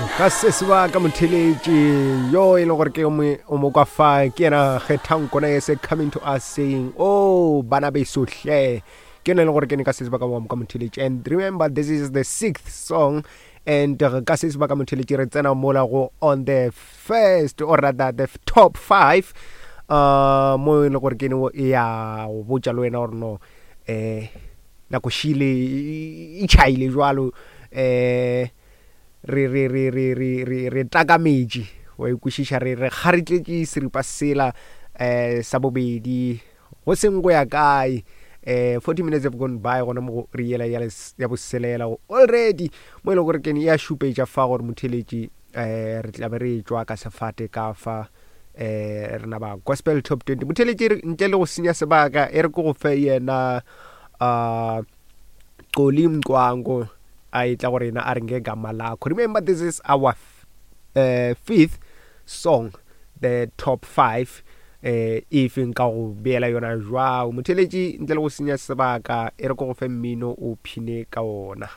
Ka se sebaka motheletši yo e leng gore ke o mo kwa fa ke yena kgethang kona ye se coming to us saying, oh bana beso hle. Ke yona e leng gore ke ne ka se sebaka wa mo ka motheletši. And remember, this is the sixth song, and ka se sebaka motheletši re tsena mola go on the first, or rather the top 5, mo e leng gore ke ne ya go botša le wena gore no nako šile e tšhaile jwalo, re re re re re re re takametše wa ikwešiša, re re kgaritletše seripa sela sa bobedi go seng go ya kae. 40 minutes have gone by gona mo go re yela ya ya boselela already, mo e leng gore kene ya šupetša fa gore motheletši re tla be re tšwa ka sefate ka fa re na ba Gospel Top 20. Motheletši, ntle le go senya sebaka, e re ke go fe yena Xoli Mncwango a etla go rena a re ngegama lakho. Remember, this is our fifth song, the top 5. If nka go beela yona jwang motheletši, ntle le go senya sebaka, e re ko go fe mmino o phine ka ona.